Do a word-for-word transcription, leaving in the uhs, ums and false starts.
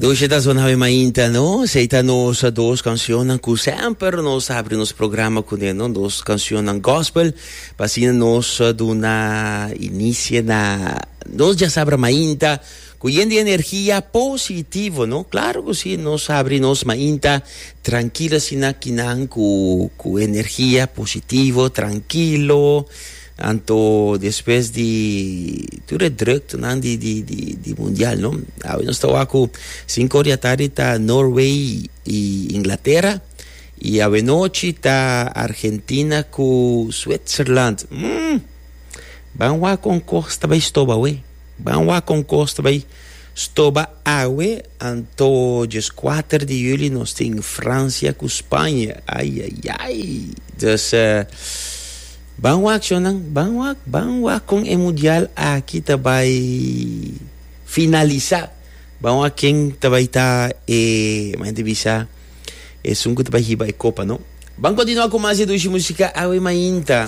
Dushi ta zona awe mainta, no? Esei ta nos dos cancionnan cu semper nos habri nos programa cune, no? Dos cancionnan gospel, pa asina nos duna inicio na nos diasabra mainta cu yen di energia positivo, no? Claro cu si, nos habri nos mainta trankilo asina kinan cu cu energia positivo, trankilo. Anto despues di tur e druktenan di di di di mundial no. Awe nos ta wak ku sinku or di atardi ta Norway i Inglatera i awe nochi ta Argentina ku Switzerland. Mm! Ban wak kon kos ta bai stoba awe. Ban wak kon kos ta bai stoba awe. Anto djes kuater di juli nos tin Francia ku Spanje. Ai ai ai. Dus Ban wak shonnan, ban wak, ban wak kon e mundial aki ta bai finalisa. Ban wak ken ta bai ta e, mi ta bisa, esun ku ta bai hiba e kopa, no? Ban kontinua ku mas di dushi musika awe mainta.